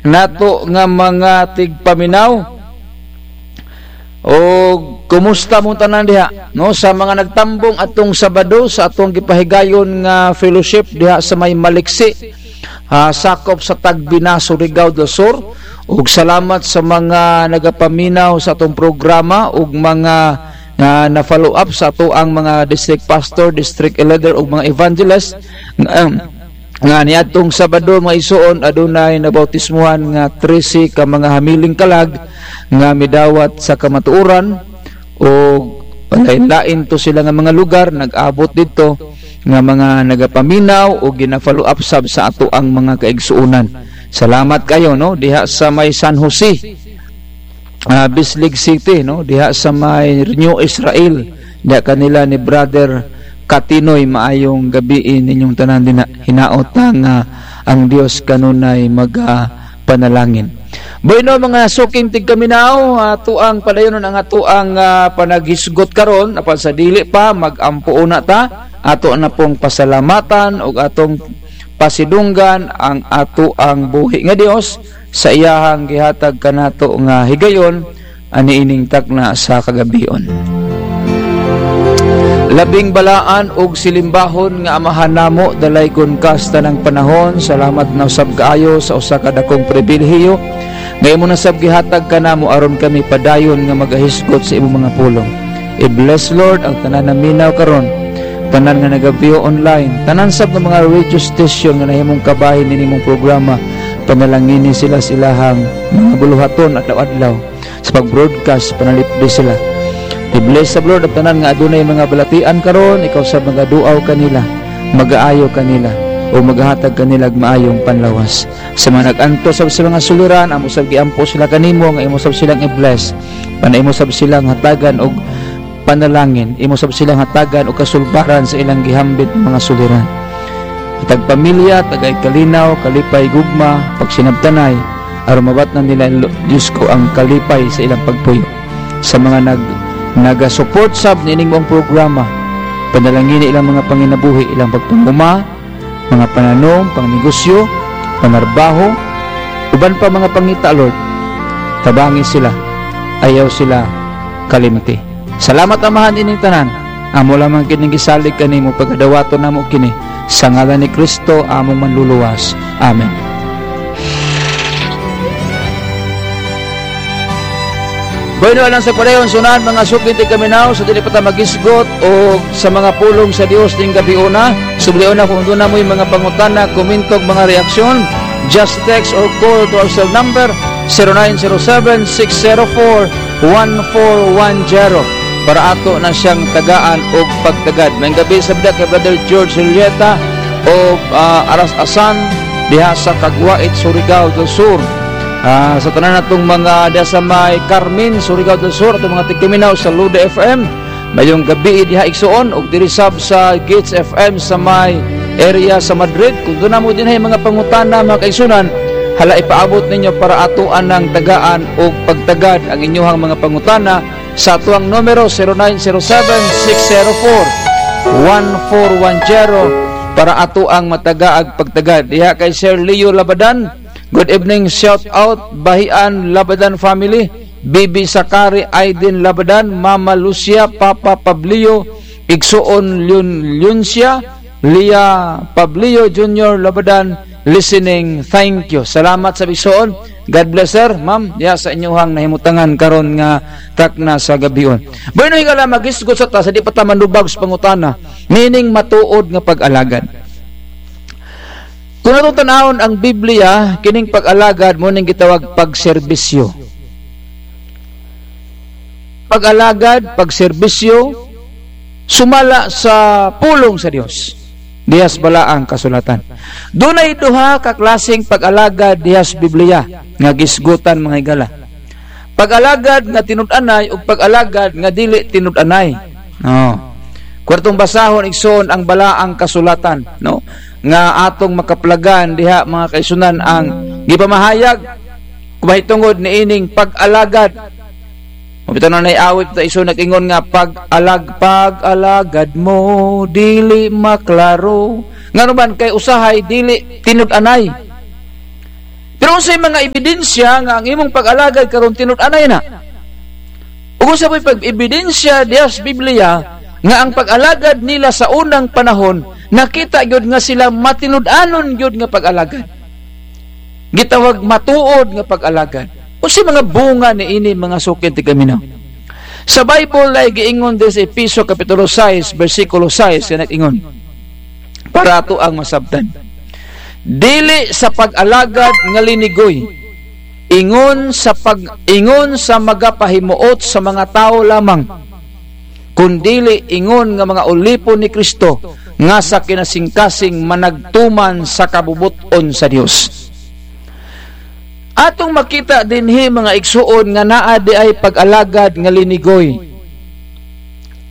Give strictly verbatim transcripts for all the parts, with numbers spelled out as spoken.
nato nga mga tigpaminaw. O kumusta mo tanan diha, no? Sa mga nagtambong atong Sabado sa atong gipahigayon nga fellowship diha sa may Maliksi, ah, sakop sa Tagbina, Surigao del Sur. Ug salamat sa mga nagapaminaw sa atong programa ug mga, ah, na-follow up sa atoang mga district pastor, district elder ug mga evangelist. Um, nga niadtong Sabado, mga igsoon, adunay nabautismohan nga trese ka mga hamiling kalag nga midawat sa kamatuoran, o lain-lain to sila nga mga lugar, nag-abot didto nga mga nagapaminaw o gina-follow up sab sa atoang mga kaigsuonan. Salamat kayo, no? Diha sa may San Jose, ah, Bislig City, no? Diha sa may New Israel, diha kanila ni Brother Katinoy, maayong gabi ninyong tanan din. Hinaot ta nga ang Dios kanunay mag, ah, panalangin. Bueno, mga suking tigkaminaw, atoang padayonon ang atoang, ah, panaghisgot karon. Apan sa dili pa, mag-ampo una ta. Ato na pong pasalamatan ug atong pasidunggan ang atoang buhi nga Dios sa iyahang gihatag kanato nga higayon, ani ining takna sa kagabion. Labing balaan ug silimbahon nga Amahan namo, dalaygon ka sa tanang panahon, salamat na usab kaayo sa usa ka dakong pribilehiyo nga imo na sab gihatag kanamo aron kami padayon nga magahisgot sa imong mga pulong. I-bless, Lord, ang tanan na minaw karon, tanan nga nagabiyo online, tanan sab nga mga radio station nga nahimong kabahin nin imong programa. Panalangini sila sa ilahang mga buluhaton adlaw-adlaw sa pag-broadcast, panalipdi sila. I-bless sab, Lord, ang tanan nga adunay mga balatian karon, ikaw sab magaduaw kanila, mag-aayo kanila, o maghahatag kanila og maayong panlawas. Sa mga nag-antos sab sa mga suliran, amo sab giampo sila kanimo nga imo sab silang i-bless. Pana imo sab silang hatagan og panalangin, imo sab silang hatagan og kasulbaran sa ilang gihambit na mga suliran. Tagpamilya, tagay kalinaw, kalipay, gugma, pagsinabtanay, aron mabatnan nila, Lo-, Diyos ko, ang kalipay sa ilang pagpuyo. Sa mga nag-, naga-support sab nining maong programa, panalangini ilang mga panginabuhi, ilang pagpanguma, mga pananom, pangnegosyo, panarbaho, uban pa mga pangita, Lord. Tabangi sila, ayaw sila kalimti. Salamat, Amahan, ining tanan. Amo lamang kining gisalig kanimo, pagadawaton namo kini sa ngalan ni Cristo, among Manluluwas. Amen. Bueno, alang sa padayon, sunan, mga suking tigkaminaw, sa dili pa ta magisgot o sa mga pulong sa Dios ning gabi una, sublion na kung doon na mo'y mga pangutana, komento, mga reaksyon, just text or call to our cell number, zero nine zero seven, six zero four, one four one zero, para ato na siyang tagaan og pagtagad. Mayong gabi sa bida kay Brother George Julieta o, ah, Aras Asan, diha sa Caguait, Surigao del Sur. Ah, sa tanan natong mga diha sa may Carmen, Surigao del Sur, atong mga tigkaminaw sa Lude F M, mayong gabi diha igsoon, ug diri sab sa Gates F M sa may area sa Madrid. Kung doon na mo din ay mga pangutana, mga kaigsunan, hala, ipaabot ninyo para ato anang tagaan o pagtagad ang inyuhang mga pangutana sa atuang numero, zero nine zero seven, six zero four, one four one zero, para ato ang matagaag pagtagad. Diha kay Sir Leo Labadan, good evening, shout out, Bahian Labadan family, Bibi Sakari Aiden Labadan, Mama Lucia, Papa Pablio, Igsoon Leon, Leoncia, Lia Pablio Junior Labadan, listening. Thank you. Salamat sa igsoon. God bless, sir, ma'am, diha sa inyuhang nahimutangan karon nga takna sa gabion. Bueno, higala, magisgot sa ta, sa di pa ta manubag sa pangutana, meaning matuod nga pag-alagad. Kung atong tanawon ang Biblia, kining pag-alagad mo ning gitawag pagserbisyo. Pag-alagad, pagserbisyo, sumala sa pulong sa Dios. Diha sa Balaang Kasulatan. Dunay duha ka klaseng pag-alagad diha sa Biblia nga gisgutan, mga higala. Pag-alagad nga tinud-anay ug pag-alagad nga dili tinud-anay. Oh. Kwartong basahon, igsoon, ang Balaang Kasulatan, no? Nga atong makaplagan diha, mga kaisunan, ang gipamahayag, kumahitungod niining pag-alagad. Mabitaw na naiawit ta iso nag-ingon nga, "Pag-alag-, pag-alagad mo, dili maklaro." Ngano man, kay usahay, dili tinud-anay. Pero unsay mga ebidensya nga ang imong pag-alagad karon tinud-anay na? Ug unsa po'y pag-ebidensya diya sa Biblia nga ang pag-alagad nila sa unang panahon, nakita gyud nga sila matinud-anon gyud nga pag-alagad? Gitawag matuod nga pag-alagad. Unsay mga bunga niini, mga suking tigkaminaw? Sa Bible ay giingon din sa Efeso Kapitulo sais, bersikulo sais, nga nag-ingon, para ato ang masabtan, "Dili sa pag-alagad nga linigoy, ingon sa pag-, ingon sa magapahimuot sa mga tawo lamang, kun dili ingon nga mga ulipon ni Cristo, nga sa kinasingkasing managtuman sa kabubot-on sa Dios." Atong makita dinhi, mga igsoon, nga naa di ay pag-alagad nga linigoy.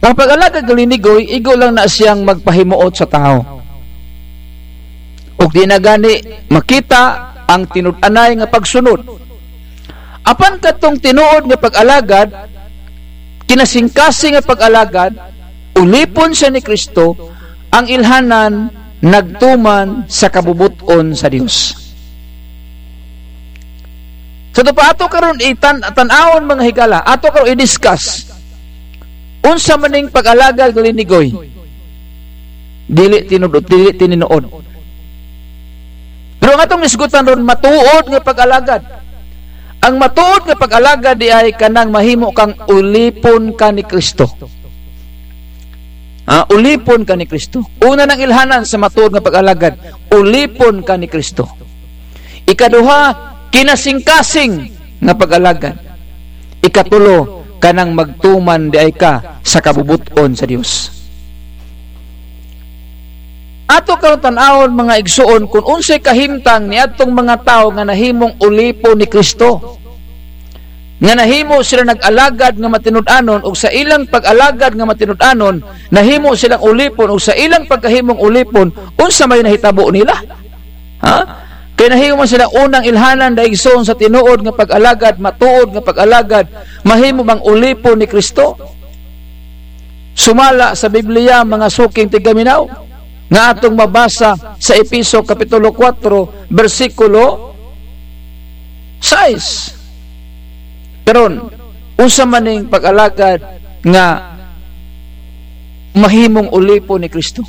Ang pag-alagad nga linigoy, igo lang na siyang magpahimuot sa tawo. Ug di na gani makita ang tinud-anay nga pagsunod. Apan katong tinuod nga pag-alagad, kinasingkasing nga pag-alagad, ulipon siya ni Cristo, ang ilhanan nagtuman sa kabubot-on sa Dios. Sa ito pa, ato karon itan-, tan-awon, mga higala, ato karon i-discuss. Unsa man ning pag-alagad nga linigoy? Dili tinuod, dili tininood. Pero ang atong isgutan ron, matuod nga pag-alagad. Ang matuod nga pag-alagad di ay kanang mahimo kang ulipon ka ni Cristo. Ah, ulipon ka ni Cristo. Una nang ilhanan sa matuod nga pag-alagad, ulipon ka ni Cristo. Ikaduha, kinasingkasing nga pag-alagad. Ikatulo, kanang magtuman di ay ka sa kabubot-on sa Dios. Ato karon tan-awon, mga igsoon, kun unsay kahimtang niadtong mga tawo nga nahimong ulipon ni Cristo, nga nahimo sila nag-alagad nga matinud-anon, ug sa ilang pag-alagad nga matinud-anon, nahimo silang ulipon, ug sa ilang pagkahimong ulipon, unsa may nahitabo nila? Ha? Kay nahimo man sila unang ilhanan, daigsoon, sa tinuod nga pag-alagad, matuod nga pag-alagad, mahimo bang ulipon ni Cristo? Sumala sa Biblia, mga suking tigkaminaw, nga atong mabasa sa Efeso Kapitulo kwatro, bersikulo sais. Karon, unsa man ning pag-alagad nga mahimong ulipon ni Cristo?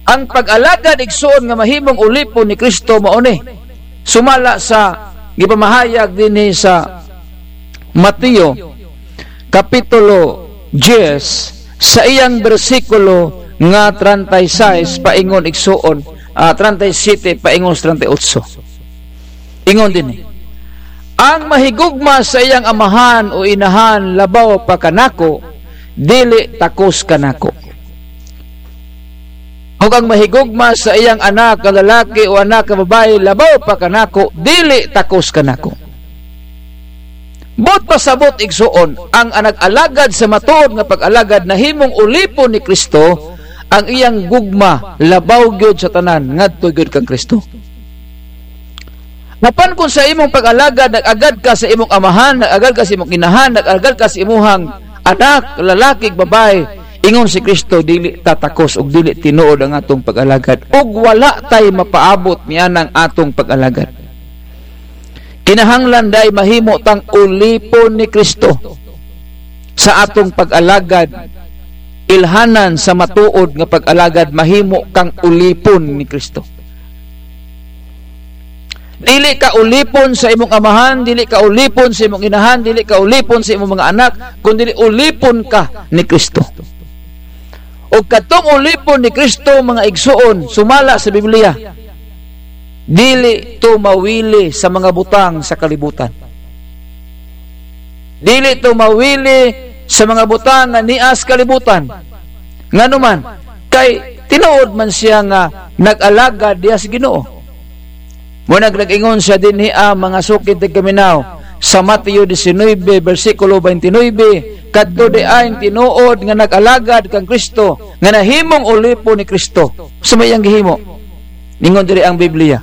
Ang pag-alagad, igsoon, nga mahimong ulipon ni Cristo mao ni, sumala sa gipamahayag dinhi sa Mateo, Kapitulo diyes, sa iyang bersikulo nga treinta y seis paingon igsoon, ah, treinta y siete paingon sa treinta y ocho. Ingon dinhi, "Ang mahigugma sa iyang amahan o inahan labaw pa kanako, dili takos kanako. Ug ang mahigugma sa iyang anak na lalaki o anak na babayi labaw pa kanako, dili takos kanako." Boot pasabot, igsoon, ang nag-alagad sa matuod nga pag-alagad nahimong ulipon ni Cristo, ang iyang gugma labaw gyud sa tanan ngadto gyud kan Cristo. Apan kun sa imong pag-alagad, nag-agad ka sa imong amahan, nag-agad ka sa imong inahan, nag-agad ka sa imuhang anak, lalaki, babae, ingon si Cristo, dili ta takos ug dili tinuod ang atong pag-alagad. Ug wala tay mapaabot niyan ang atong pag-alagad. Kinahanglan dai mahimo tang ulipon ni Cristo sa atong pag-alagad. Ilhanan sa matuod nga pag-alagad, mahimo kang ulipon ni Cristo. Dili ka ulipon sa imong amahan, dili ka ulipon sa imong inahan, dili ka ulipon sa imong mga anak, kundi ulipon ka ni Cristo. Ug katong ulipon ni Cristo, mga igsoon, sumala sa Biblia, dili to mawili sa mga butang sa kalibutan. Dili to mawili sa mga butang nga nia sa kalibutan. Ngano man? Kay tinuod man siya nga nag-alagad diya sa Ginoo. Mao nag-ingon siya dinhi, ah, mga suking tigkaminaw, sa Mateo diecinuebe, bersikulo twenty-nine, kadto di ay tinuod nga nag-alagad kan Cristo nga nahimong ulipon ni Cristo. Sa may ang gihimo? Ningon diri ang Biblia,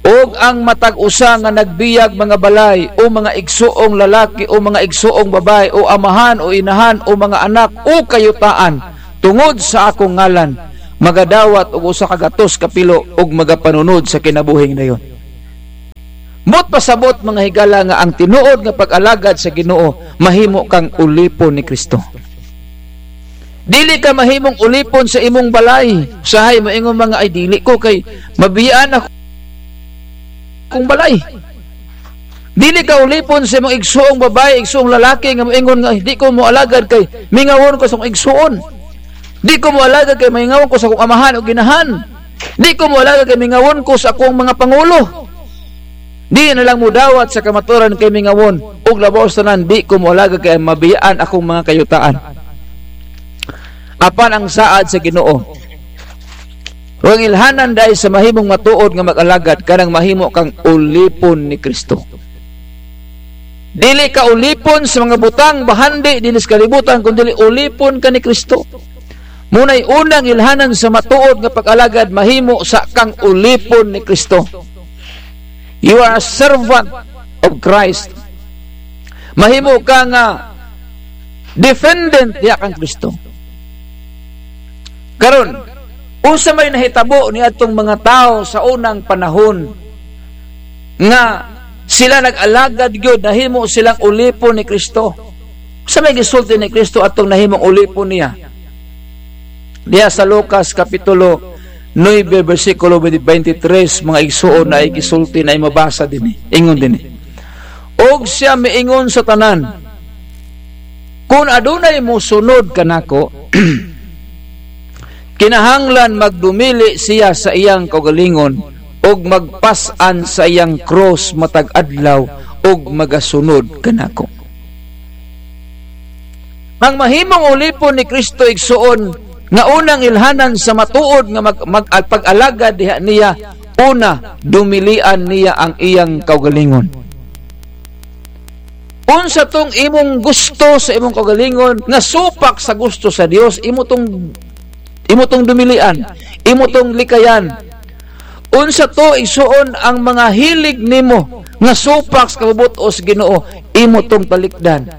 "Ug ang matag usa nga nagbiyag mga balay, o mga igsoong lalaki, o mga igsoong babae, o amahan, o inahan, o mga anak, o kayutaan, tungod sa akong ngalan, magadawat og usa ka gatos ka pilo ug magapanunod sa kinabuhing dayon. Boot pasabot, mga higala, nga ang tinuod nga pag-alagad sa Ginoo mahimo kang ulipon ni Cristo. Dili ka mahimong ulipon sa imong balay. Usahay moingon man nga, "Ay, dili ko, kay mabiyaan ako kong balay." Dili ka ulipon sa imong igsoong babae, igsoong lalaki nga moingon nga, "Ay, di ko mo alagad kay mingawon ko sa akong igsoon. Di ko mo alagad kay mingawon ko sa akong amahan o ginahan. Di ko mo alagad kay mingawon ko sa akong mga pangulo." Di na lang mo dawat sa kamaturan kay mingawon, ug labaw sa tanan, di ko mo alagad kay mabiyaan akong mga kayutaan. Apan ang saad sa Ginoo, ang ilhanan dai sa mahimong matuod nga mag-alagad, kanang mahimo kang ulipon ni Cristo. Dili ka ulipon sa mga butang bahandi dinhi sa kalibutan, kundi ulipon ka ni Cristo. Munay unang ilhanan sa matuod nga pag-alagad, mahimo sa kang ulipon ni Cristo. You are a servant of Christ. Mahimo ka nga defendant diya kan Cristo. Karon, unsa may nahitabo ni atong mga tawo sa unang panahon nga sila nag-alagad gyud, nahimo silang ulipon ni Cristo? Sa may gisulti ni Cristo atong nahimong ulipon niya? Diya sa Lucas Kapitulo nuebe, bersikulo twenty-three, mga igsoon, na igisulti na imabasa din eh. Ingon din eh. Og siya miingon sa tanan, "Kun adunay mosunod kanako, kinahanglan magdumili siya sa iyang kaugalingon ug magpas-an sa iyang krus matag adlaw ug magasunod kanako." Ang mahimong ulipon ni Cristo, igsoon, nga unang ilhanan sa matuod nga mag-, mag-, pag-alagad diha niya, una, dumilian niya ang iyang kaugalingon. Unsa tong imong gusto sa imong kaugalingon nga supak sa gusto sa Dios, imo tong, imo tong dumilian, imo tong likayan. Unsa to, igsoon, ang mga hilig nimo nga supak sa kabubut-os Ginoo, imo tong talikdan.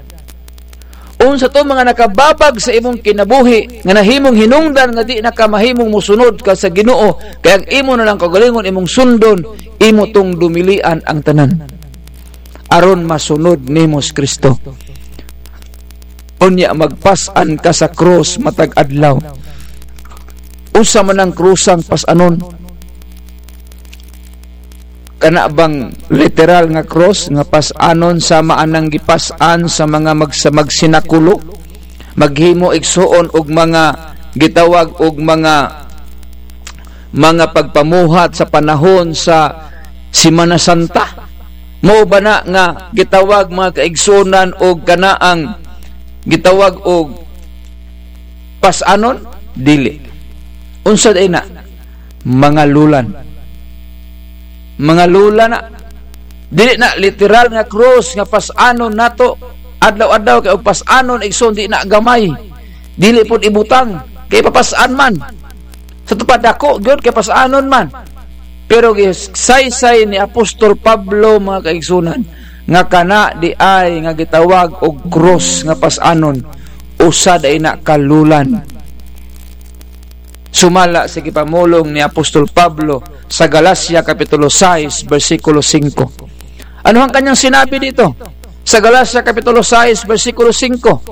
Unsa to, mga nakababag sa imong kinabuhi nga nahimong hinungdan nga di na ka mahimong mosunod ka sa Ginoo, kaya ang imo na lang kaugalingon imong sundon, imo tong dumilian ang tanan. Aron masunod nimo si Cristo. Unya, magpas-an ka sa krus matag adlaw. Unsa man ang krusang pas-anon? Kana bang literal nga krus nga pas-anon, sama anang gipas-an sa mga magsa-, magsinakulo, maghimo igsoon og mga gitawag og mga, mga pagpamuhat sa panahon sa Semana Santa? Mao ba na nga gitawag, mga kaigsunan, og kanaang gitawag og pas-anon? Dili. Unsa day na? Mga lulan. Mga lulan na. Dili na literal nga krus nga pas-anon nato. Adlaw-adlaw kay og pas-anon, igsoon, di na gamay. Dili pud ibutang, kay papas-an man. Sa tupad, dako gyud kay pas-anon man. Pero gisaysay ni Apostol Pablo, mga kaigsunan, nga kana di ay nga gitawag og krus nga pas-anon, usa day na ka lulan. Sumala sa gipamulong ni Apostol Pablo sa Galacia Kapitulo sais, bersikulo singko. Ano ang kanyang sinabi dito? Sa Galacia Kapitulo sais, bersikulo singko,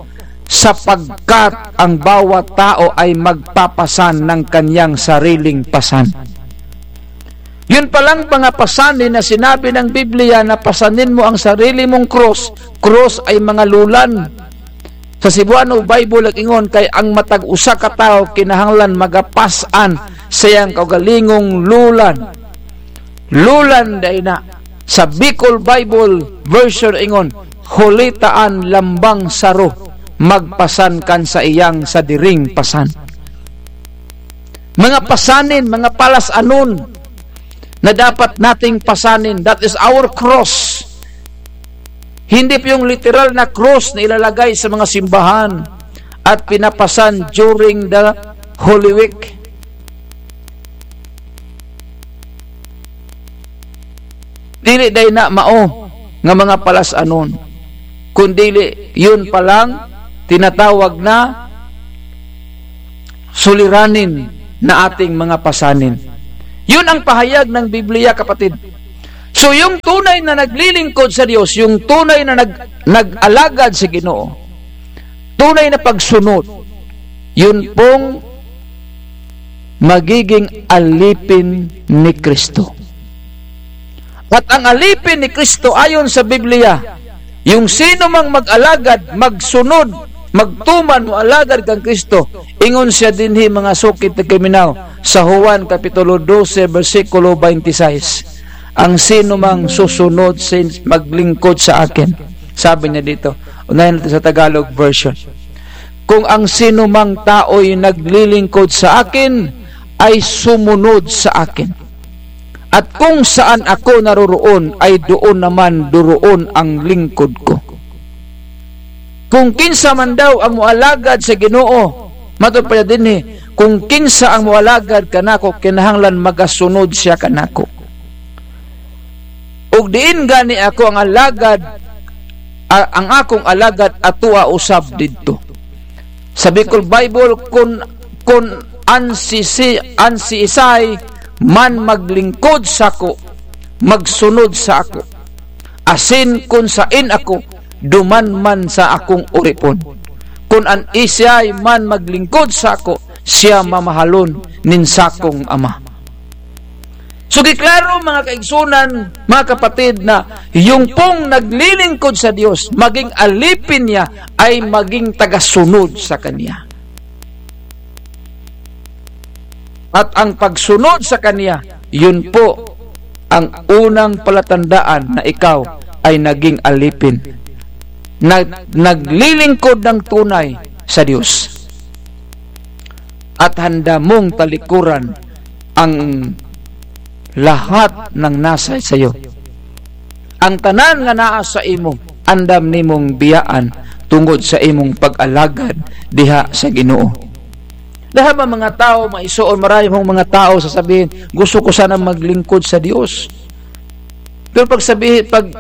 "Sapagkat ang bawat tao ay magpapasan ng kanyang sariling pasan." Yun palang mga pasanin na sinabi ng Biblia na pasanin mo ang sarili mong krus, krus ay mga lulan. Sa Cebuano Bible, nag-ingon kay ang matag usa ka tawo kinahanglan magapas-an sa iyang kaugalingong lulan. Lulan dai na. Sa Bicol Bible version, ingon, "Hulitaan lambang saro, magpasan kan sa iyang sadiring pasan." Mga pasanin, mga palas-anon na dapat nating pasanin. That is our cross. Hindi po yung literal na cross na ilalagay sa mga simbahan at pinapasan during the Holy Week. Dili day na mao nga mga palas-anon, kundili yun palang tinatawag na suliranin na ating mga pasanin. Yun ang pahayag ng Biblia, kapatid. So, yung tunay na naglilingkod sa Diyos, yung tunay na nag-, nag-alagad sa Ginoo, tunay na pagsunod, yun pong magiging alipin ni Kristo. At ang alipin ni Kristo, ayon sa Biblia, yung sino mang mag-alagad, magsunod, magtuman o alagad kan Kristo, ingon siya dinhi, mga sukid na kriminaw, sa Juan Kapitulo dose, bersikulo twenty-six, "Ang sino mang susunod sa, maglingkod sa akin," sabi niya dito, unahin natin sa Tagalog version, "Kung ang sino mang tao'y naglilingkod sa akin, ay sumunod sa akin. At kung saan ako naroroon, ay doon naman doroon ang lingkod ko." Kung kinsa man daw ang moalagad sa Ginoo, matod pa niya dinhi, kung kinsa ang moalagad kanako, kinahanglan magasunod siya kanako. Ug diin gani ako ang alagad, a-, ang akong alagad atua usab didto. Sa Bicol Bible, kun, kun an sisi-, an siisay man maglingkod sako, magsunod sa ako. Asin kun sain ako, duman man sa akong oripon. Kun an isiyay man maglingkod sa ako, siya mamahalon nin sakong ama. So, giklaro, mga kaigsunan, mga kapatid, na yung pong naglilingkod sa Diyos, maging alipin niya, ay maging tagasunod sa Kanya. At ang pagsunod sa Kanya, yun po ang unang palatandaan na ikaw ay naging alipin, na naglilingkod ng tunay sa Diyos. At handa mong talikuran ang lahat ng nasa sayo. Ang tanan nga naa sa imo, andam nimong biyaan tungod sa imong pag-alagad diha sa Ginoo. Dahil ba mga tao, maisoon, marami mong mga tao sasabihin, "Gusto ko sana maglingkod sa Diyos." Pero pag sabihin, pag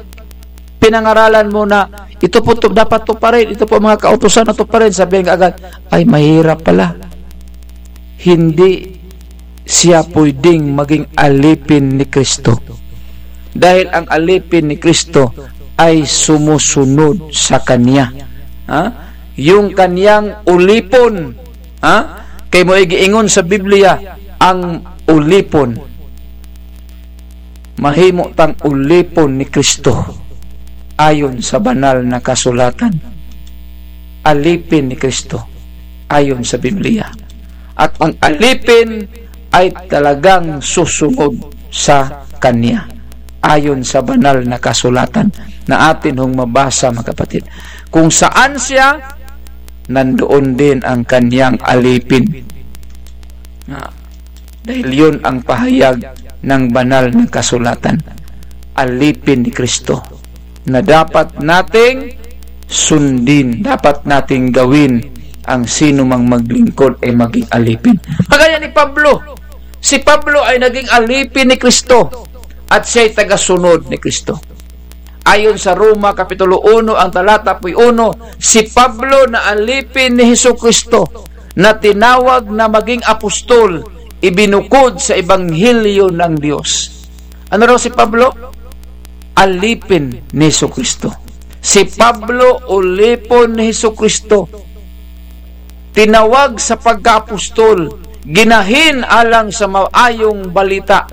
pinangaralan mo na, "Ito po, to, dapat to pa rin, ito po mga kautusan na to pa rin," sabihin ka agad, "Ay, mahirap pala." Hindi siya pwedeng maging alipin ni Kristo. Dahil ang alipin ni Kristo ay sumusunod sa Kanya. Ha? Yung Kanyang ulipon. Ha? Kay mo igiingon sa Biblia, ang ulipon. Mahimo tang ulipon ni Kristo ayon sa Banal na Kasulatan. Alipin ni Kristo ayon sa Biblia. At ang alipin ay talagang susunod sa Kanya, ayon sa Banal na Kasulatan na atin hong mabasa, mga kapatid. Kung saan siya, nandoon din ang Kanyang alipin. Ah, dahil yun ang pahayag ng Banal na Kasulatan. Alipin ni Kristo na dapat nating sundin, dapat nating gawin. Ang sino mang maglingkod ay maging alipin. Kagaya ni Pablo. Si Pablo ay naging alipin ni Kristo at siya'y tagasunod ni Kristo. Ayon sa Roma Kapitulo uno, ang talata po'y uno, si Pablo na alipin ni Jesu-Cristo, na tinawag na maging apostol, ibinukod sa ebanghelyo ng Diyos. Ano raw si Pablo? Alipin ni Jesu-Cristo. Si Pablo, ulipon ni Jesu-Cristo. Tinawag sa pagkaapostol, ginahin alang sa maayong balita.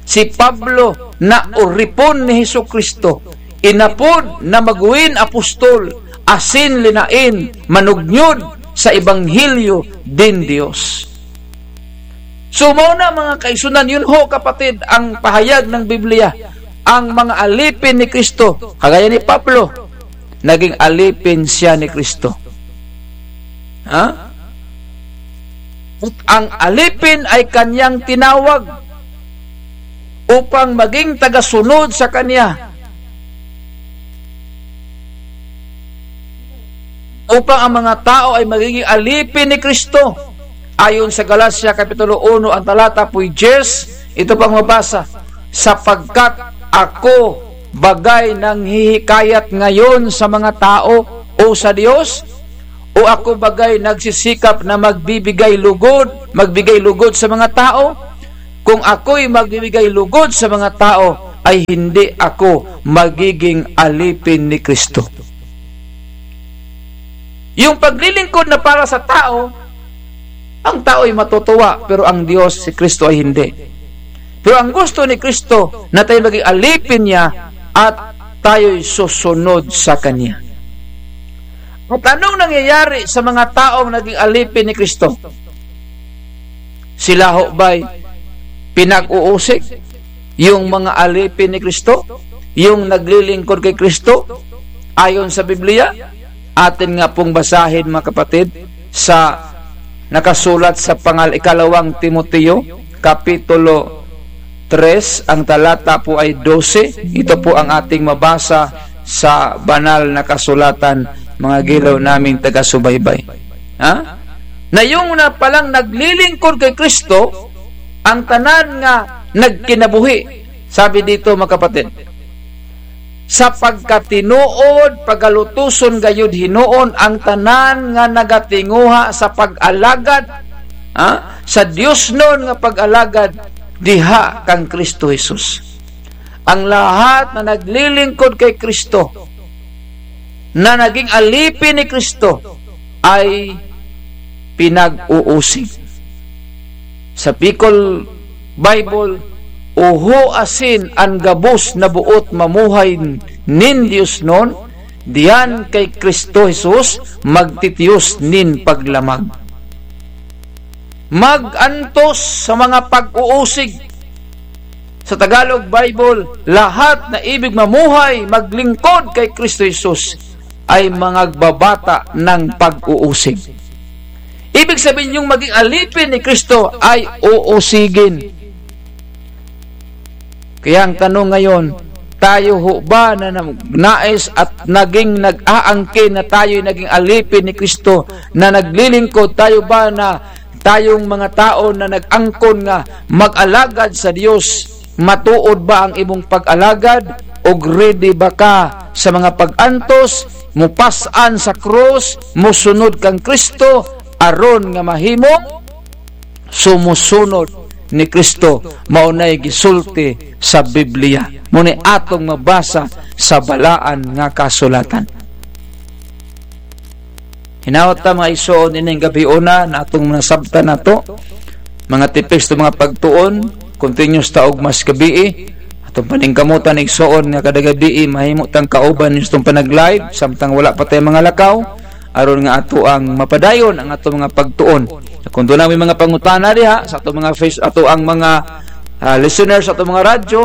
Si Pablo na oripon ni Jesu-Cristo, inapod na magwin apostol, asin linain, manugnyod sa ebanghelyo din Dios. So, mao na, mga kaisunan, yun ho, kapatid, ang pahayag ng Biblia. Ang mga alipin ni Cristo, kagaya ni Pablo, naging alipin siya ni Cristo. Ha? At ang alipin ay kanyang tinawag upang maging tagasunod sa kanya. Upang ang mga tao ay magiging alipin ni Cristo. Ayon sa Galacia Kapitulo uno, ang talata po'y diyes, ito pang mabasa, "Sapagkat ako bagay nanghihikayat ngayon sa mga tao o sa Dios? O ako bagay nagsisikap na magbibigay lugod magbigay lugod sa mga tao? Kung ako'y magbibigay lugod sa mga tao, ay hindi ako magiging alipin ni Kristo. Yung paglilingkod na para sa tao, ang tao ay matutuwa, pero ang Diyos, si Kristo ay hindi. Pero ang gusto ni Kristo, na tayo maging alipin niya at tayo'y susunod sa Kanya. At anong nangyayari sa mga taong naging alipin ni Kristo? Sila ho ba'y pinag-uusig? Yung mga alipin ni Kristo? Yung naglilingkod kay Kristo? Ayon sa Biblia, atin nga pong basahin, mga kapatid, sa nakasulat sa pangal-, ikalawang Timoteo, Kapitulo tres, ang talata po ay dose. Ito po ang ating mabasa sa banal na kasulatan, mga gilaw naming taga-subaybay. Ha? Na yung na palang naglilingkod kay Kristo, ang tanan nga nagkinabuhi. Sabi dito, mga kapatid, sa pagkatinood, pagalutoson gayud hinoon ang tanan nga nagatinguha sa pag-alagad, ha? Sa diosnon nga pag-alagad diha kan Kristo Jesus. Ang lahat na naglilingkod kay Kristo, na naging alipin ni Kristo, ay pinag-uusig. Sa Bicol Bible, "Oho asin an gabos na boot mamuhay nin diosnon, diyan kay Cristo Jesus magtitios nin paglamag." Mag-antos sa mga pag-uusig. Sa Tagalog Bible, lahat na ibig mamuhay, maglingkod kay Cristo Jesus ay mangagbabata ng pag-uusig. Ibig sabihin, yung maging alipin ni Cristo ay uusigin. Kaya ang tanong ngayon, tayo ho ba na nag-, nais at naging nag-aangkin na tayo'y naging alipin ni Cristo, na naglilingkod? Tayo ba na tayong mga tao na nag-angkon nga mag-alagad sa Dios, matuod ba ang imong pag-alagad? O ready ba ka sa mga pag-antos, mupas-an sa krus, musunod kan Cristo, aron nga mahimong sumusunod ni Cristo? Mao na'y gisulti sa Biblia. Mao na'y atong mabasa sa Balaan nga Kasulatan. Hinaot ta, mga igsoon, ining gabi una na atong nasabtan nato. Mga tipis to mga pagtuon, continuous ta og mas gabii. Atong paningkamutan, igsoon, nga kada gabii mahimo tang kauban ninyo sa atong panag-live, samtang wala pa tayo mga lakaw, aron nga ato ang mapadayon ang atong mga pagtuon. Kung doon may mga pangutana diha sa atong mga face, ato ang mga, ah, listeners sa atong mga radyo,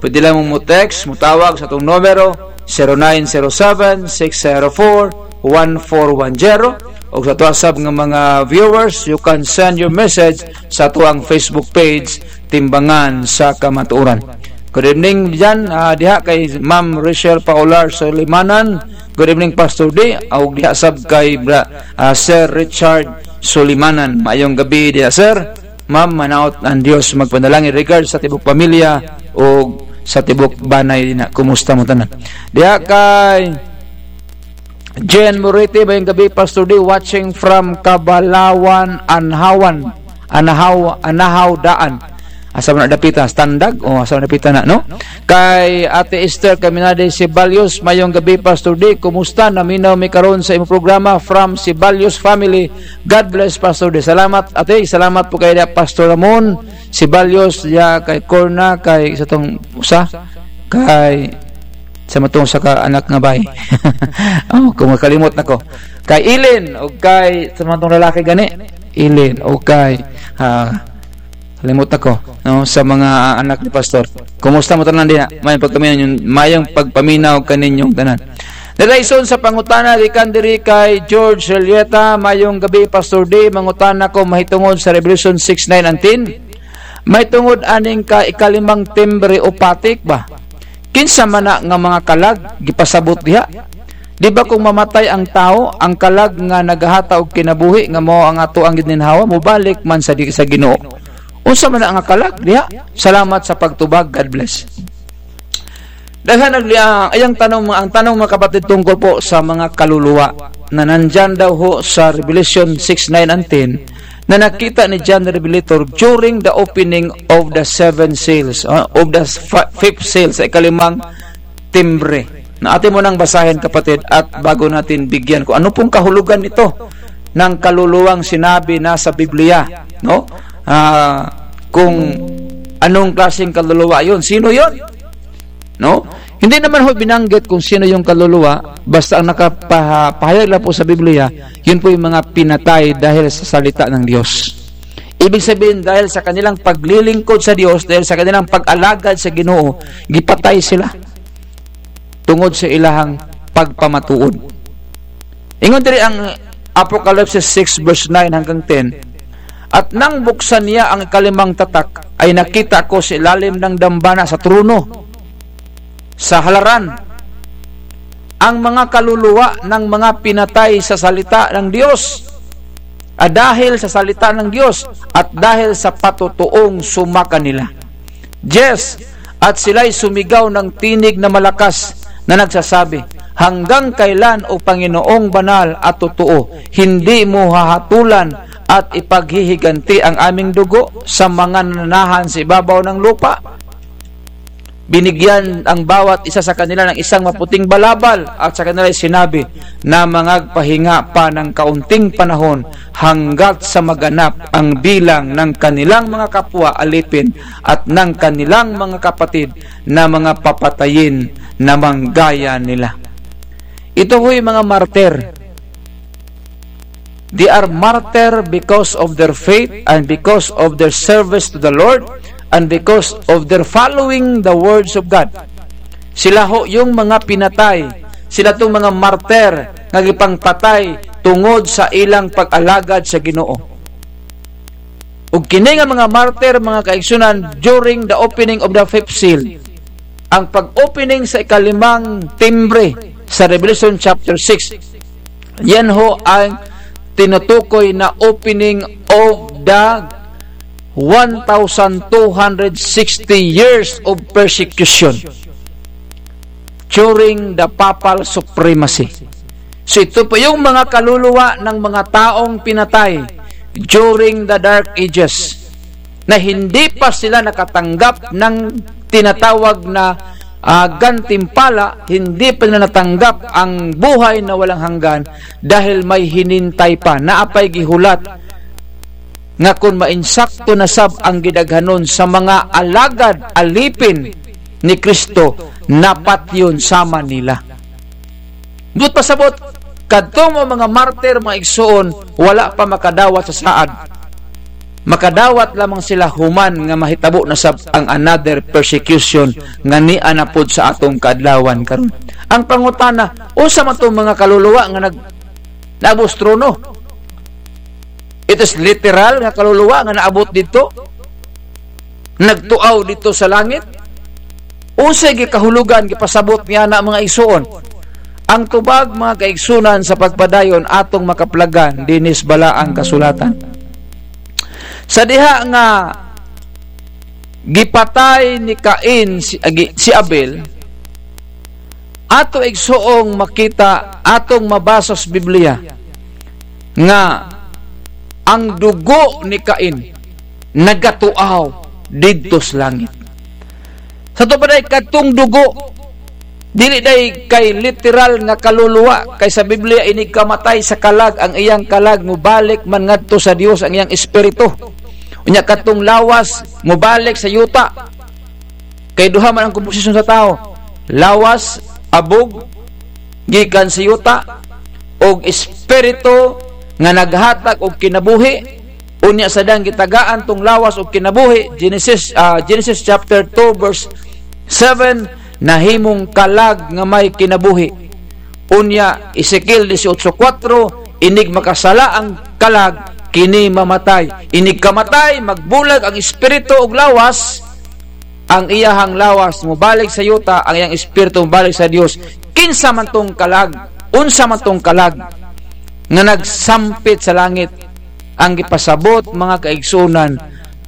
pwede lang mo text, mutawag sa atong numero, zero nine zero seven, six zero four, one four one zero. O sa ato sab nga mga viewers, you can send your message sa ato ang Facebook page, Timbangan sa Kamatuoran. Good evening diyan, ah, diha kay Ma'am Rachel Paular Solimanan. Good evening, Pastor D. O diha sab kay Bra-, ah, Sir Richard Solimanan. Mayong gabi diha, sir. Ma'am, manaot ang Dios magpanalangin. Regards sa tibok pamilya o sa tibok banay na. Kumusta mo tanan? Diha kay Jen Morete, mayong gabi, Pastor D, watching from Kabalawan, Anhawan. Anahaw, Anahaw Daan. Asa man na dapita? Standag? O, asa man dapita na, no? Kay Ate Esther Caminade Ceballos, mayong gabi, Pastor D. Kumusta? Naminaw mi karon sa imong programa from Ceballos family. God bless, Pastor D. Salamat, ate. Salamat po kay Pastor Ramon Ceballos, ya kay Corna, kay sa tong usa, kay sa matong sa ka anak nga bay. Oh, kung makalimot na ko. Kay Ilin, o kay sa matong lalaki gani. Ilin, o kay, ah, limot na ko, no, sa mga anak ni Pastor. Kumusta mo tanan diha? Mayong pagpaminaw, mayong pagpaminaw kaninyong tanan. Dalaison sa pangutana, gikan diri kay George Relieta, mayong gabi, Pastor D. Mangutana ko mahitungod sa Revelation six nine and ten. Mahitungod aning ka ikalimang timbre o patik ba? Kinsa man na nga mga kalag gipasabot diha? Di ba kung mamatay ang tawo, ang kalag nga naghahata og kinabuhi nga mao ang ato ang gininhawa, mubalik man sa di-, sa Ginoo? Unsa man na nga kalag diha? Salamat sa pagtubag. God bless. Daghan nagli-, ah, ayang tanong, ang tanong, mga kapatid, tungkol po sa mga kaluluwa na nandyan daw ho sa Revelation six nine and ten, na nakita ni John the Revelator during the opening of the seven seals, ah, of the fi-, fifth seal, sa ikalimang timbre. Na atin mo nang basahin, kapatid, at bago natin bigyan kung ano pong kahulugan nito ng kaluluwang sinabi na sa Biblia, no? Ah, kung anong klaseng kaluluwa yon, sino yon? No? Hindi naman ho binanggit kung sino yung kaluluwa, basta ang nakapahayag lang po sa Biblia, yun po yung mga pinatay dahil sa salita ng Diyos. Ibig sabihin, dahil sa kanilang paglilingkod sa Diyos, dahil sa kanilang pag-alagad sa Ginoo, gipatay sila tungod sa ilahang pagpamatuod. Ingon diri ang Apokalipsis six verse nine hanggang ten, "At nang buksan niya ang ikalimang tatak, ay nakita ko sa ilalim ng dambana sa trono, sa halaran, ang mga kaluluwa ng mga pinatay sa salita ng Diyos, ah, dahil sa salita ng Diyos at dahil sa patotoong suma kanila. Yes, at sila'y sumigaw ng tinig na malakas na nagsasabi, 'Hanggang kailan, O Panginoong banal at totoo, hindi mo hahatolan at ipaghihiganti ang aming dugo sa mga nananahan sa ibabaw ng lupa?'" Binigyan ang bawat isa sa kanila ng isang maputing balabal at sa kanila sinabi na mangagpahinga pa ng kaunting panahon hanggat sa maganap ang bilang ng kanilang mga kapwa alipin at ng kanilang mga kapatid na mga papatayin na manggaya nila. Ito ho'y mga martir. They are martyr because of their faith and because of their service to the Lord and because of their following the words of God. Sila ho yung mga pinatay, sila tong mga martyr na gipangpatay tungod sa ilang pag-alagad sa Ginoo. Ug kini nga mga martyr, mga kaigsunan, during the opening of the fifth seal, ang pag-opening sa ikalimang timbre sa Revelation chapter six, yan ho ang tinutukoy na opening of the one thousand two hundred sixty years of persecution during the papal supremacy. So, ito po yung mga kaluluwa ng mga taong pinatay during the Dark Ages, na hindi pa sila nakatanggap ng tinatawag na, ah, gantimpala, hindi pa nila natanggap ang buhay na walang hanggan dahil may hinintay pa. Naapay gihulat nga kun mainsakto na sab ang gidaghanon sa mga alagad, alipin ni Cristo, napatyon sa Manila. Buot pasabot, kadtong mga martir, mga igsoon, wala pa makadawat sa saad. Makadawat lamang sila human nga mahitabo na sab ang another persecution nga nianapod sa atong kaadlawan karon. Ang pangutana, unsa man tong mga kaluluwa nga nag-, naabot sa trono? It is literal nga kaluluwa nga naabot dito? Nagtuaw dito sa langit? Unsay gikahulogan, gipasabot niya na, mga igsoon? Ang tubag, mga kaigsunan, sa pagpadayon atong makaplagan dinis balaang kasulatan. Sa diha nga gipatay ni Cain si, agi-, si Abel, ato igsoong makita, atong mabasa sa Biblia, nga ang dugo ni Cain nagatuaw didto sa langit. Sa tubod ay kadtong dugo, dili day kay literal nga kaluluwa, kay sa Biblia, inigkamatay sa kalag, ang iyang kalag mubalik man ngadto sa Dios ang iyang espiritu. Unya, kadtong lawas mubalik sa yuta. Kay duha man ang komposisyon sa tawo, lawas, abog, gikan sa yuta, ug espiritu nga naghatag og kinabuhi. Unya, sadang gitagaan tong lawas og kinabuhi, Genesis, ah, Genesis chapter two, verse seven, nahimong kalag nga may kinabuhi. Unya, Ezekiel dieciocho cuatro, inig makasala ang kalag, kini mamatay. Inig kamatay, magbulag ang espiritu ug lawas, ang iyahang lawas mubalik sa yuta, ang iyang espiritu mubalik sa Dios. Kinsa man tong kalag? Unsa man tong kalag nga nagsampit sa langit? Ang gipasabot, mga kaigsunan,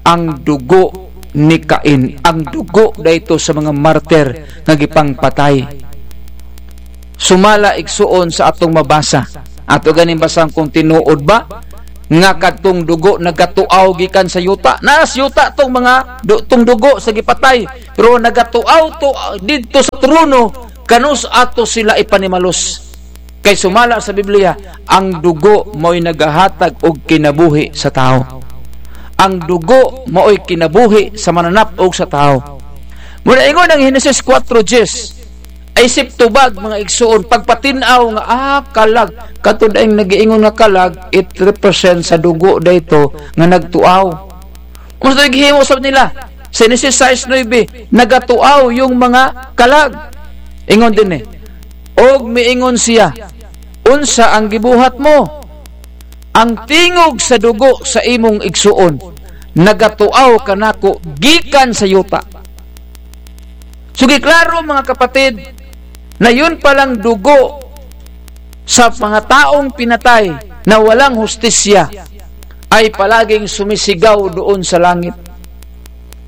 ang dugo ni Cain, ang dugo dayto sa mga martir nga gipangpatay. Sumala, igsuon, sa atong mabasa. Ato ganing basahon kung tinuod ba nga kadtong dugo nagatuaw gikan sa yuta. Nasa yuta tong mga du-, tong dugo sa gipatay, pero nagatuaw to, ah, didto sa trono, kanus ato sila ipanimalos. Kay sumala sa Biblia, ang dugo mao'y naghahatag og kinabuhi sa tawo. Ang dugo mao'y kinabuhi sa mananap og sa tawo. Muna ingon ang Henesis kwatro diyes, ay sip tubag, mga igsoon, pagpatinaw nga, ah, kalag. Kato daing nag-iingon nga kalag, it represents sa dugo dayto nga nagtuaw. Unsa gihimo sab nila? Sa Henesis sais nuebe, nagatuaw yung mga kalag. Ingon din eh, og miingon siya, "Unsa ang gibuhat mo? Ang tingog sa dugo sa imong igsoon, nagatuaw kanako gikan sa yuta." So, giklaro, mga kapatid, na yun palang dugo sa mga taong pinatay na walang hustisya ay palaging sumisigaw doon sa langit.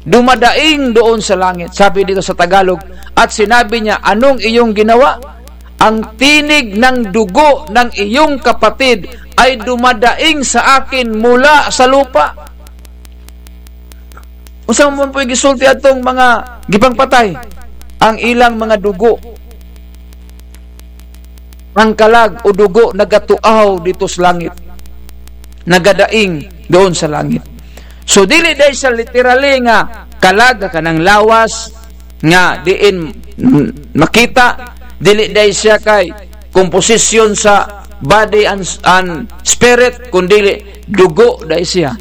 Dumadaing doon sa langit, sabi dito sa Tagalog, at sinabi niya, "Anong iyong ginawa?" "Ang tinig ng dugo ng iyong kapatid ay dumadaing sa akin mula sa lupa." Unsa man po'y gisulti atong mga gipangpatay? Ang ilang mga dugo. Ang kalag o dugo nagatuaw dito sa langit. Nagadaing doon sa langit. So, dili dai siya literally nga kalag, kanang lawas nga diin, mm, makita. Dili dai siya kay komposisyon sa body and, and spirit, kundili dugo dai siya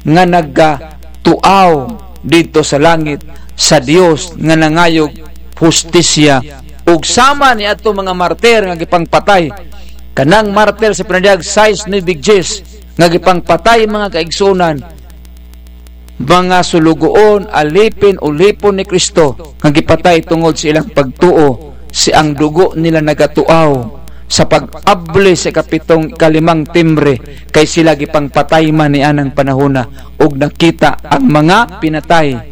nga nagatuaw dito sa langit sa Dios nga nangayog hustisya, ug sama ni ato mga martir nga gipangpatay. Kanang martir sa Pinadayag sais nuebe diyes nga gipangpatay, mga kaigsunan, mga sulugoon, alipin, ulipon ni Cristo nga gipatay tungod sa ilang pagtuo, si ang dugo nila nagatuaw sa pag-abli sa ikapitong, ikalimang timbre, kay sila gipangpatay man ni anang panahona, ug nakita ang mga pinatay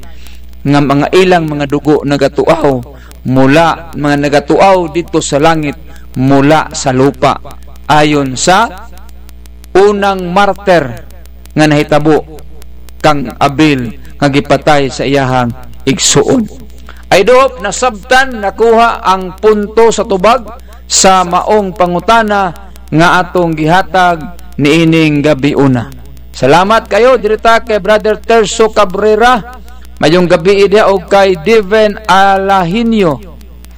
nga mga ilang mga dugo nagatuaw mula, mga nagatuaw dito sa langit, mula sa lupa. Ayon sa unang martir nga nahitabo, kang Abel, nga gipatay sa iyahang igsuon. I do hope nasabtan, nakuha ang punto sa tubag sa maong pangutana nga atong gihatag niining gabi una. Salamat kayo, diri ta kay Brother Terso Cabrera. Mayong gabi diya, og kay Diven Alahinio.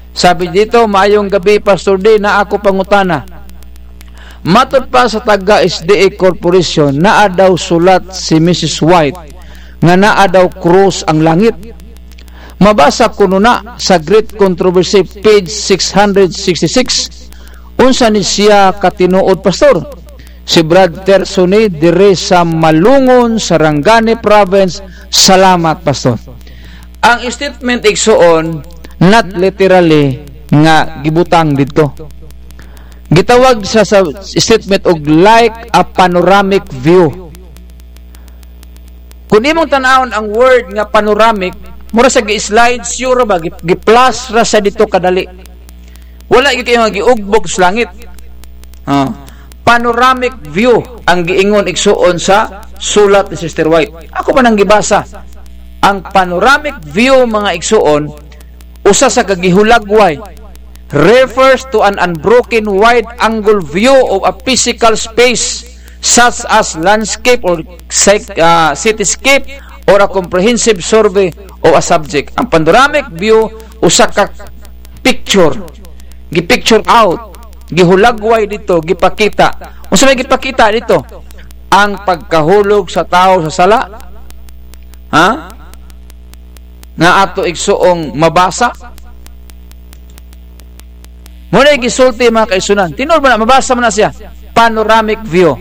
Sabi dito, "Mayong gabi, Pastor D, na ako pangutana. Matod pa sa taga S D A Corporation, naa daw sulat si Missus White nga naa daw krus ang langit. Mabasa kuno na sa Great Controversy, page six hundred sixty-six. Unsa ni siya katinuod, Pastor?" Si Brad Terso ni, dire sa Malungon, Sarangani Province. Salamat, Pastor. Ang statement igsuon, not literally nga gibutang didto. Gitawag sa, sa statement og like a panoramic view. Kung imong tanawon ang word nga panoramic, mura sa gi-slide, sure ba, gi-, gi-plus ra sa dito kadali. Wala gyud kayo nga giugbog sa langit. Ah, panoramic view ang giingon igsuon sa sulat ni Sister White. Ako man ang gibasa. Ang panoramic view, mga igsuon, usa sa kagihulagway, refers to an unbroken wide-angle view of a physical space such as landscape or psych-, ah, cityscape or a comprehensive survey of a subject. Ang panoramic view, usa ka picture, gi-picture out, gihulagway dito, gipakita. Unsa may gipakita dito? Ang pagkahulog sa tao sa sala. Ha? Nga ato igsuong mabasa. Muna gisulti, mga kaisunan. Tinol ba na, mabasa mo na siya. Panoramic view.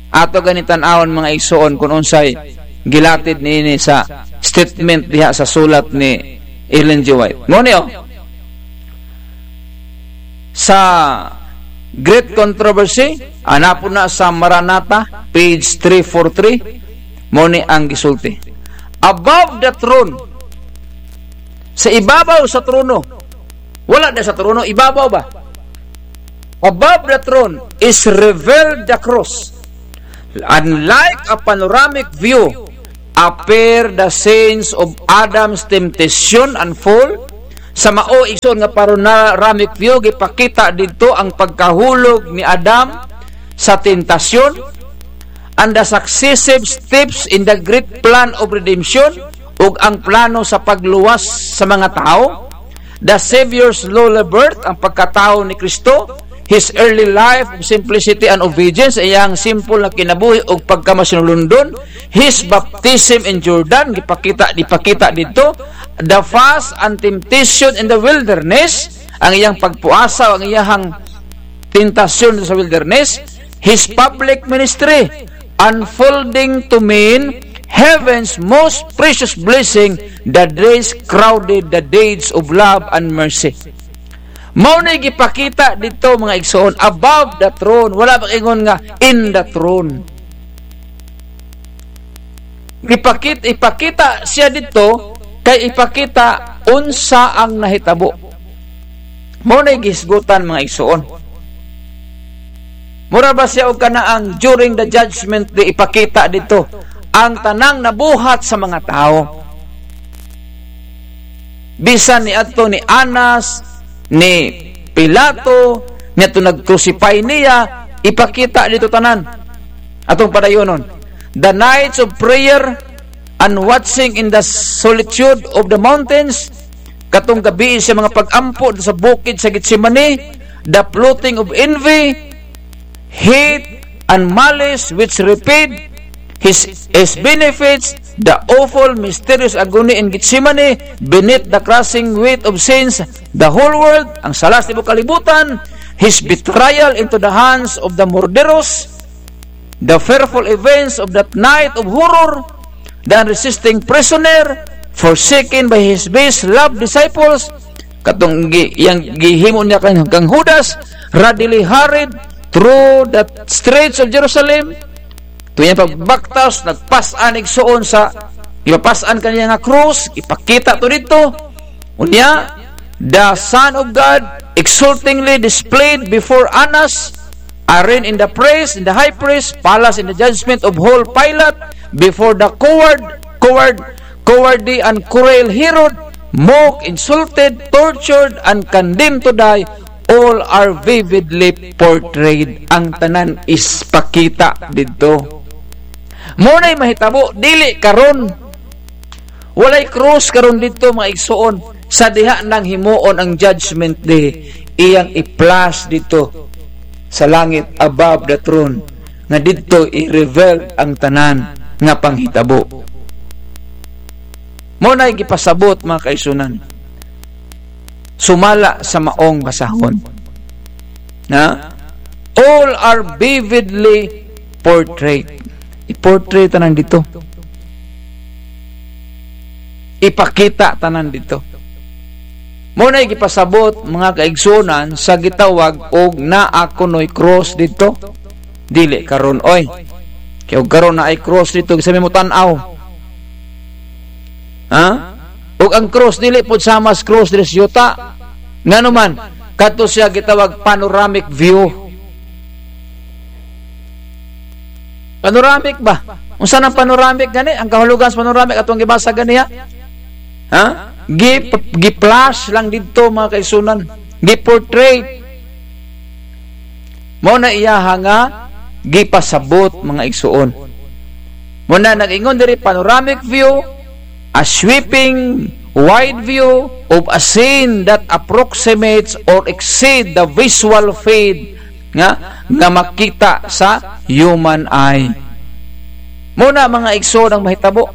Ato gani tan-awon, mga igsuon, kung unsay gilatid niini sa statement diha sa sulat ni Ellen G. White. Muna, oh. Sa Great Controversy, hanapon na sa Maranatha, page three forty-three, mao ni ang gisulti. Above the throne, sa ibabaw sa trono, wala na sa trono, ibabaw ba? Above the throne is revealed the cross, Unlike a panoramic view, appear the scenes of Adam's temptation and fall. Sa mao, igsoon, nga panoramic view, gipakita didto ang pagkahulog ni Adam sa tentasyon and the successive steps in the great plan of redemption ug ang plano sa pagluwas sa mga tawo. The Savior's lowly birth, ang pagkatawo ni Cristo, His early life of simplicity and obedience, iyang simple na kinabuhi ug pagkamasinulundon, His baptism in Jordan, gipakita, gipakita didto, the fast and temptation in the wilderness, ang iyang pagpuasa, ang iyahang tentasyon sa wilderness, His public ministry, unfolding to men heaven's most precious blessing, the days crowded the deeds of love and mercy. Mao na gipakita dito, mga igsoon, above the throne. Wala pag-ingon nga in the throne. Ipakit-, ipakita siya dito kay ipakita unsa ang nahitabo. Mao na gisgutan, mga igsoon. Mura ba siya og kana ang during the judgment day ipakita dito ang tanang nabuhat sa mga tawo? Bisan ni ato ni Anas, ni Pilato, ni ato nag-crucify niya, ipakita dito tanan. Atong padayonon. The nights of prayer and watching in the solitude of the mountains, katong gabi sa mga pag-ampo sa bukid sa Getsemane, the plotting of envy, hate, and malice which repaid his, his benefits, the awful, mysterious agony in Gethsemane, beneath the crushing weight of sins, the whole world, ang salas ni kalibutan, his betrayal into the hands of the murderous, the fearful events of that night of horror, the unresisting prisoner, forsaken by his best loved disciples, katong gi-, yang gihimo niya kan, kang Judas, readily hurried through the streets of Jerusalem, tuya pagbaktas, nagpas-an igsoon sa, ipapas-an kaniya nga krus, ipakita to dito. Unya, the Son of God exultingly displayed before Annas, arrayed in the priest, in the high priest, palace in the judgment of whole Pilate, before the coward, coward, cowardly and cruel Herod, mocked, insulted, tortured, and condemned to die, all are vividly portrayed. Ang tanan is pakita dito. Mao na'y mahitabo, dili karon. Walay krus karon dito, mga igsoon. Sa diha nang himoon ang judgment day, iyang i-flash dito sa langit above the throne, nga dito i-reveal ang tanan nga panghitabo. Mao na'y gipasabot, mga kaigsunan, sumala sa maong basahon. Na? All are vividly portrayed. I-portray tanan dito. Ipakita tanan dito. Mao na'y gipasabot, mga kaigsunan, sa gitawag og naakunoy cross dito. Dili karon, oy. Kaya og karon na ay cross dito, sa mo tan-aw. Ha? Ug ang cross, dili pod sama sa cross diri sa yuta. Ngano man? Kato siya gitawag panoramic view. Panoramic ba? Unsa nang panoramic gani? Ang kahulogan sa panoramic atong gibasa gani, ha? Ha? Gi-, gi-flash lang didto, mga kaigsunan. Gi-portray. Mao na iyaha nga gipasabot, mga igsuon. Mao na nag-ingon diri, panoramic view, a sweeping, wide view of a scene that approximates or exceed the visual field nga, nga makita sa human eye. Mao na, mga igsoon, ang mahitabo.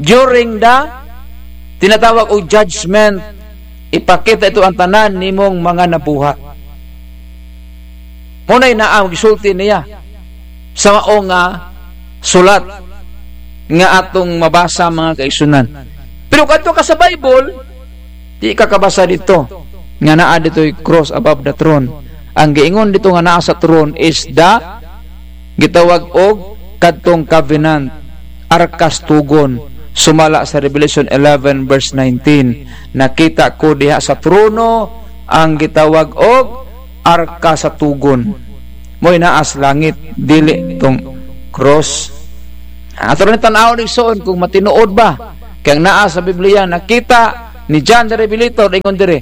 During the tinatawag og judgment, ipakita ito ang tanan nimong mga nabuhat. Mao na'y naa ang gisulti niya sa mao nga sulat nga atong mabasa, mga kaigsunan. Pero kadto ka sa Bible, di ka kabasa dito nga naa dito'y cross above the throne. Ang giingon dito nga naa sa throne is the gitawag og kadtong covenant, arkas tugon, sumala sa Revelation eleven verse nineteen. Nakita ko diha sa trono ang gitawag og arka sa tugon. Mo'y naa sa langit, dili tong krus. Ato rin tan-awon, igsoon, kung matinuod ba. Kaya ang naa sa Biblia, nakita ni John the Revelator, ingon dire,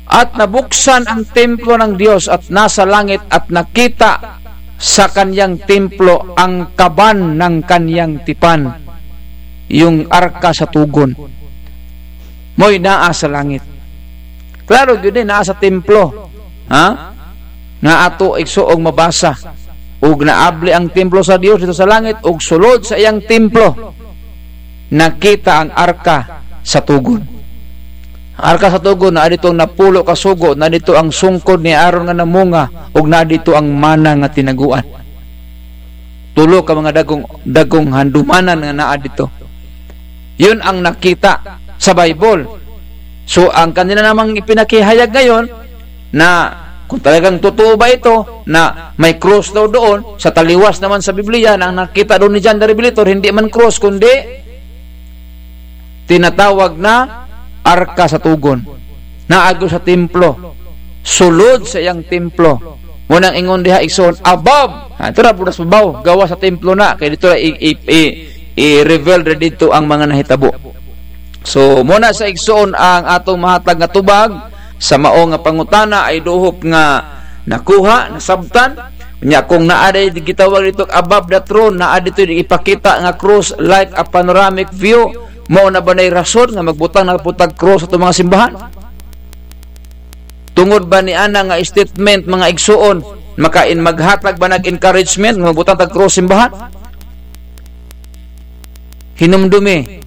"At nabuksan ang templo ng Diyos at nasa langit at nakita sa kanyang templo ang kaban ng kanyang tipan, yung arka sa tugon." Mo'y naa sa langit. Klaro gyud eh, naa sa templo. Ha? Nga ato igsoong mabasa. Ug naabli ang templo sa Dios dito sa langit, ug sulod sa iyang templo, nakita ang arka sa tugon. Ang arka sa tugon, na dito ang napulo ka sugo, na dito ang sungkod ni Aaron nga namunga, ug na dito ang mana nga tinaguan. Tulo ka mga dagong, dagong handumanan nga naa dito. Yun ang nakita sa Bible. So, ang kanila namang ipinakihayag ngayon na kung talagang totoo ba ito, na may cross daw doon, sa taliwas naman sa Biblia, na ang nakita doon ni John the Revelator, hindi man cross, kundi tinatawag na arka sa tugon. Naago sa templo. Sulod sa iyang templo. Munang ingon diha, igsoon, above. Ah, ito na, punas babaw. Gawa sa templo na. Kaya dito na i-, i-, i-, i-reveal na dito ang mga nahitabo. So, muna sa igsoon ang atong mahatag nga tubag sa mao nga pangutana ay duhop nga nakuha, nasabtan. Nya, kung naaday gitawag dito above the throne, naa dito ipakita nga cross like a panoramic view, mao na ba nay rason nga magbutang na putag cross sa mga simbahan? Tungod ba ni ana nga statement, mga igsoon, makain maghatag ba nag encouragement nga magbutang tag cross simbahan? Hinumdumi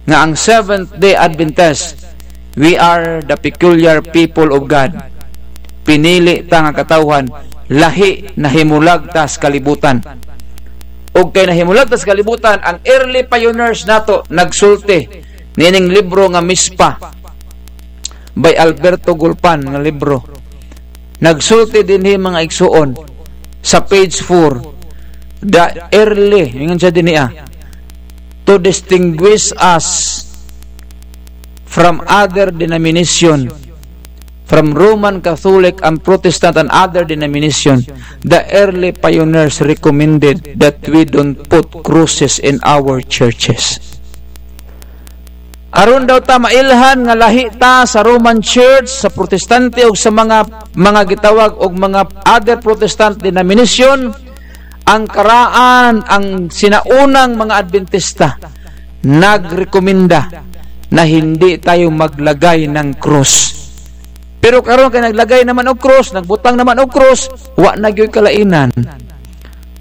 nga ang Seventh-day Adventist, we are the peculiar people of God. Pinili ta nga katawhan, lahi na himulag ta sa kalibutan. Ug kay nahimulag ta sa kalibutan, ang early pioneers nato nagsulti nining libro nga Mispa by Alberto Gulpan nga libro. Nagsulti dinhi, mga igsoon, sa page four, the early, ingon siya dinhi, ah, to distinguish us from other denomination, from Roman Catholic and Protestant and other denomination, the early pioneers recommended that we don't put crosses in our churches. Aron daw ta mailhan nga lahi ta sa Roman Church, sa Protestante, ug sa mga, mga gitawag og mga other Protestant denomination, ang karaan, ang sinaunang mga Adventista nagrekomenda na hindi tayo maglagay ng krus. Pero karon kay naglagay naman og krus, nagbutang naman og krus, wa na gyud kalainan.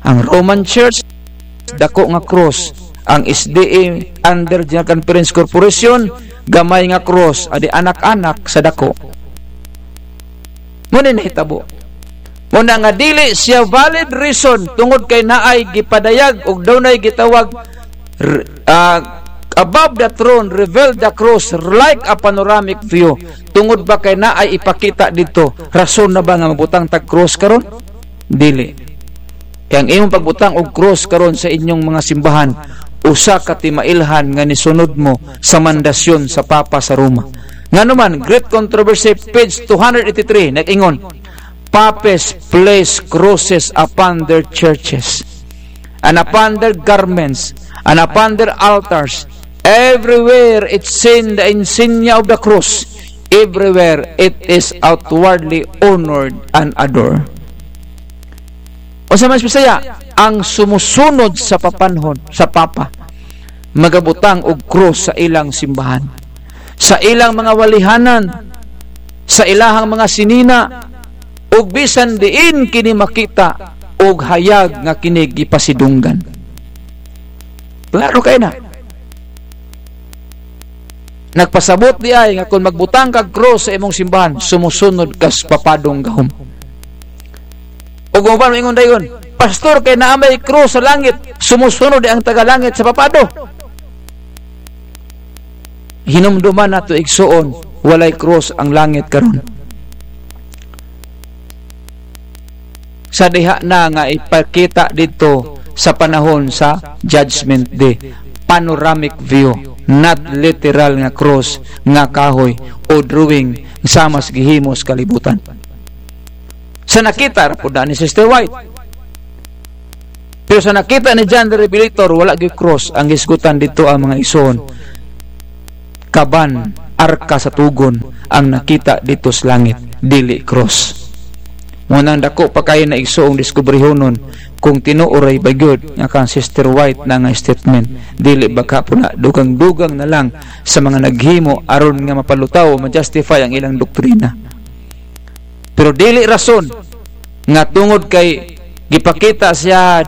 Ang Roman Church, dako nga krus. Ang S D A, under General Conference Corporation, gamay nga krus. Adi anak-anak sa dako. Muna nahitabo. Muna nga dili siya valid reason tungod kay naay gipadayag ug daw naay gitawag r-, ah, above the throne, revealed the cross like a panoramic view. Tungod ba kay naay ipakita dito? Rason na ba nga magbutang tag cross karon? Dili. Kaya ang imong pagbutang og cross karon sa inyong mga simbahan, usa ka timailhan nga nisunod mo sa mandasyon sa Papa sa Roma. Ngano man, Great Controversy, page two hundred eighty-three, nag-ingon, "Papes place crosses upon their churches, and upon their garments, and upon their altars. Everywhere it's seen the insignia of the cross. Everywhere it is outwardly honored and adored." O sa mas Bisaya, ang sumusunod sa papanhon, sa Papa, magabutang og krus sa ilang simbahan, sa ilang mga walihanan, sa ilahang mga sinina, ug bisan diin kini makita ug hayag nga kini gipasidunggan. Klaro kay na. Nagpasabot di ay nga kun magbutang kag krus sa imong simbahan, sumusunod kas papadong gahom. Ug uban maingon dayon, "Pastor, kay naa may krus sa langit, sumusunod di ang tagalangit sa papado." Hinumduman nato, igsoon, walay krus ang langit karon. Sa diha na nga ipakita didto sa panahon sa Judgment Day, panoramic view, not literal nga krus, nga kahoy, o drawing sa mas gihimos kalibutan. Sa nakita ra pud na ni Sister White. Pero sa nakita ni John the Revelator, wala gyud cross ang gisgutan dito ang mga igsoon. Kaban, arka sa tugon ang nakita dito sa langit, dili cross. Munang dako pa kayo na igsoong diskubrihonon kung tinuoray ba gyud nga kan Sister White na nga statement. Dili baka po na dugang-dugang na lang sa mga naghimo aron nga mapalutaw o ma-justify ang ilang doktrina. Pero dili rason nga tungod kay gipakita siya